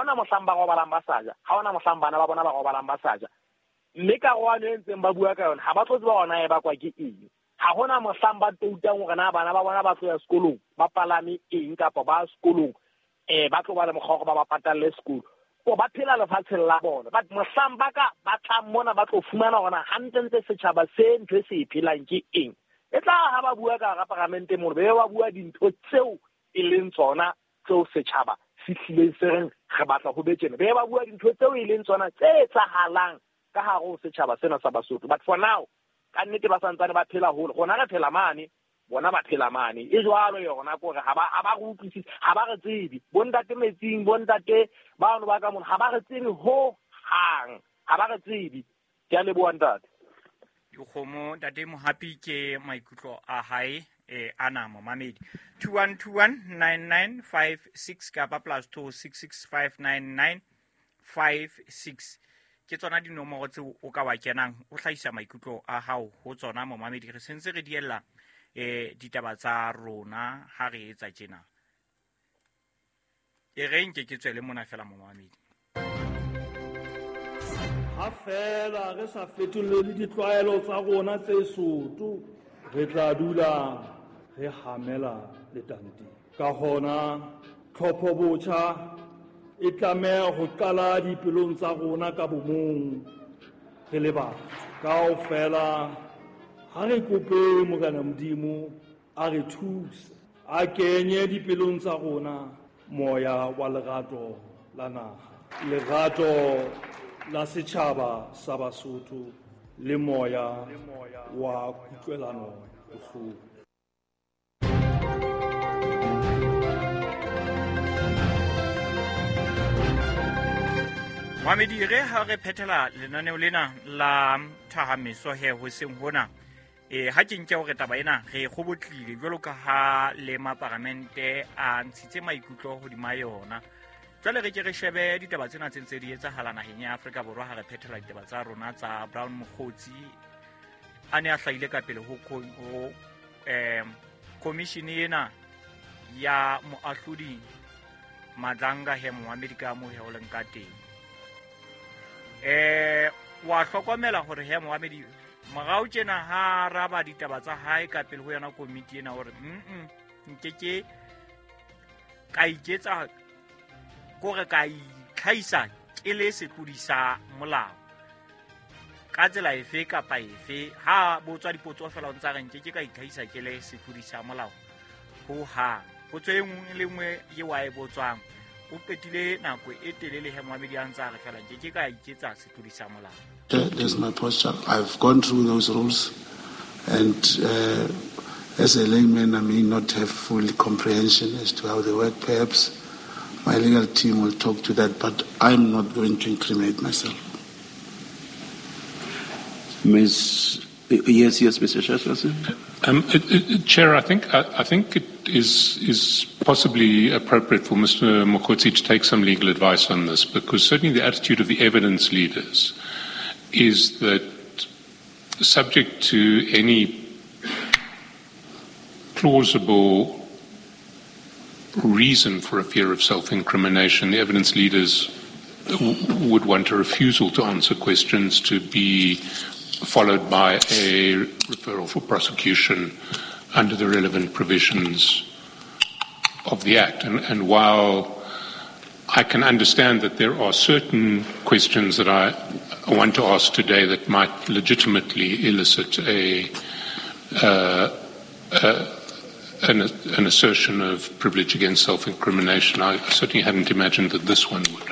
hona mohlang ba robalang ba sa ja, ha hona mohlang bana ba bona ba robalang ba sa ja. Mme karohano e ntseng ba bua ka yona, ha ba tlo tseba hore na e bakwa ke eng. Ha hona mohlang ba toutang hore na bana ba bona ba tlo ya sekolong, ba palame eng kapa ba sekolong, ba tlo ba le mokgwa wa hore ba ba patalle sekolo. Ko ba phela lefatsheng la bona. But mohlang ba ka ba tlang mona ba tlo fumana hore na hantlentle setjhaba se ntho e se e phelang ke eng. E tla ha ba bua ka hara paramente mono, be ba bua dintho tseo e leng tsona tseo setjhaba se hlileng se reng re batla ho be tjena. Be ba bua dintho tseo e leng tsona tse etsahalang ka hare ho setjhaba sena sa Basotho. But for now, ka nnete ba santsane ba phela hole. Rona re phela mane, bona ba phela mane. E jwalo yona kore ha ba re utlwisise, ha ba re tsebe. Bontate metsing, bontate bano ba ka mona, ha ba re tsebe ho hang. Ha ba re tsebe. Ke a leboha ntate. Dikgomo, ntate Mohapi ke maikutlo a hae ana momamedi. 21219956 kapa plus 26659956 ke tsona dinomoro tseo o ka wa kenang o hlahisa maikutlo a hao ho tsona momamedi. Re sentse re diella ditaba tsa rona ha re etsa tjena. E re nke ke tswele mona fela momamedi. Ha fela re sa fetolele ditlwaelo tsa rona tse soto, re tla dula re hamela letanteng. Ka hona tlhopho botjha e tlameha ho qala dipelong tsa rona ka bomong re le batho. Kaofela ha re kope Morena Modimo a re thuse, a kenye dipelong tsa rona moya wa lerato la naha, lerato la setjhaba sa Basotho le moya wa kutlwelano bohloko. Mohamedi, re ha re phethela lenaneo lena la thahameso he hoseng hona, ha ke nke hore taba ena re kgobotlile jwalo ka ha le maparamente a ntshitse maikutlo hodima yona. Jwale re ke re shebe ditaba tsena tse ntse di etsahala naheng ya Afrika Borwa ha re phethela ditaba tsa rona tsa Brown Mogotsi a ne a hlahile ka pele ho commission ena ya moahlodi Madlanga he Mohamedi ka mo he o leng ka teng. Wa hlokomela hore he Mohamedi morao tjena ha araba ditaba tsa hae ka pele ho yona komiti ena hore nke ke ka iketsa kore ka itlhahisa ke le setlodi sa molao ka tsela efe kapa efe. Ha botswa dipotso fela o ntsa re nke ke ka itlhahisa ke le setlodi sa molao ho hang. Potso e nngwe le nngwe e wa e botswang o qetile nako e telele he Mohamedi a ntsa re fela nke ke ka iketsa setlodi sa molao. That's my posture. I've gone through those rules, and as a layman, I may not have full comprehension as to how they work. Perhaps my legal team will talk to that, but I'm not going to incriminate myself. Ms. Yes, yes, Mr. Chairperson. Chair, I think it is possibly appropriate for Mr. Mogotsi to take some legal advice on this, because certainly the attitude of the evidence leaders is that subject to any plausible reason for a fear of self-incrimination, the evidence leaders would want a refusal to answer questions to be followed by a referral for prosecution under the relevant provisions of the Act. And while I can understand that there are certain questions that I want to ask today that might legitimately elicit an assertion of privilege against self-incrimination, I certainly hadn't imagined that this one would.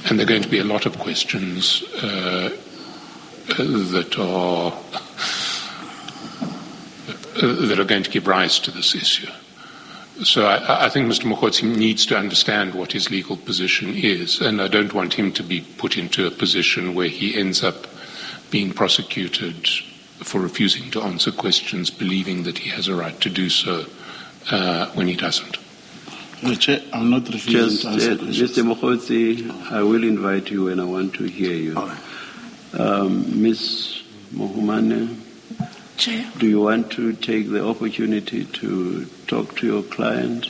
And there are going to be a lot of questions that are going to give rise to this issue. So I think Mr. Mogotsi needs to understand what his legal position is, and I don't want him to be put into a position where he ends up being prosecuted for refusing to answer questions, believing that he has a right to do so when he doesn't. No, Chair, I'm not refusing to answer questions. Mr. Mogotsi, I will invite you and I want to hear you. All right. Ms. Mohumane, Chair. Do you want to take the opportunity to talk to your client?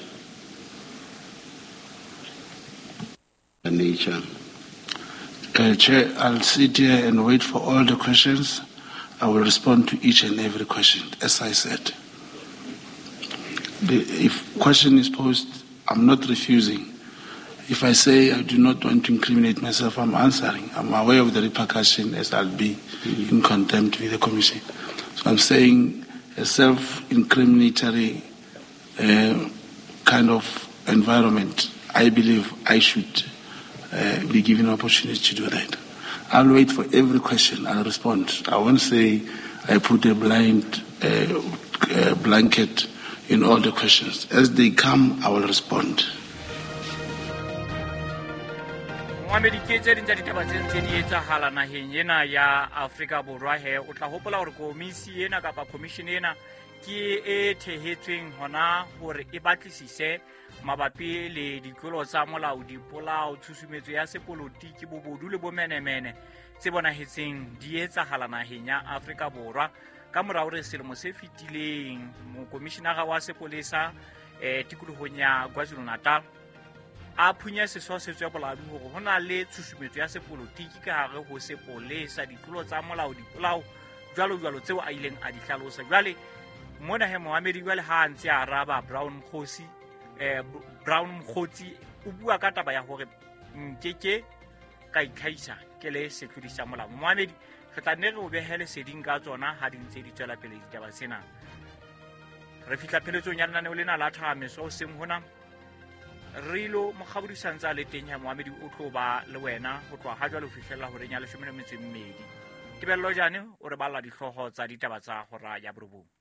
Nature. Chair, I'll sit here and wait for all the questions. I will respond to each and every question, as I said. If question is posed, I'm not refusing. If I say I do not want to incriminate myself, I'm answering. I'm aware of the repercussion as I'll be in contempt with the Commission. So I'm saying a self-incriminatory kind of environment, I believe I should be given an opportunity to do that. I'll wait for every question. I'll respond. I won't say I put a blind blanket in all the questions. As they come, I will respond. Mohamedi, ke tse ding tsa ditaba tse ntse di etsahala naheng ena ya Afrika Borwa. He o tla hopola hore komisi ena kapa commission ena ke e thehetsweng hona hore e batlisise mabapi le ditlolo tsa molao, dipolao, tshusumetso ya sepolotiki, bobodu le bomenemene tse bonahetseng di etsahala naheng ya Afrika Borwa. Ka mora hore selemo se fetileng mokomishinara wa sepolesa tikolohong ya KwaZulu-Natal a phunya seso se tswe boladu hore ho na le tshusumetso ya sepolotiki ka hare ho sepolesa, ditlolo tsa molao, dipolao jwalo jwalo tseo a ileng a di hlalosa. Jwale mona he Mohamedi jwale ha a ntse a araba Brown Mokgotsi, Brown Mokgotsi o bua ka taba ya hore nkeke ka itlhahisa ke le setlodi sa molao. Mohamedi, re tla nne re o behe leseding ka tsona ha di ntse di tswela pele ditaba tsena. Re fihla pheletsong ya lenaneo lena la Thahameso hoseng hona. Rilo Mokgabodi sa ntse a le teng ya Mohamedi o tlo ba le wena ho tloha ha jwale ho fihlella horeng ya 12. Tebello Jane o re balla dihlooho tsa ditaba tsa hora ya 9.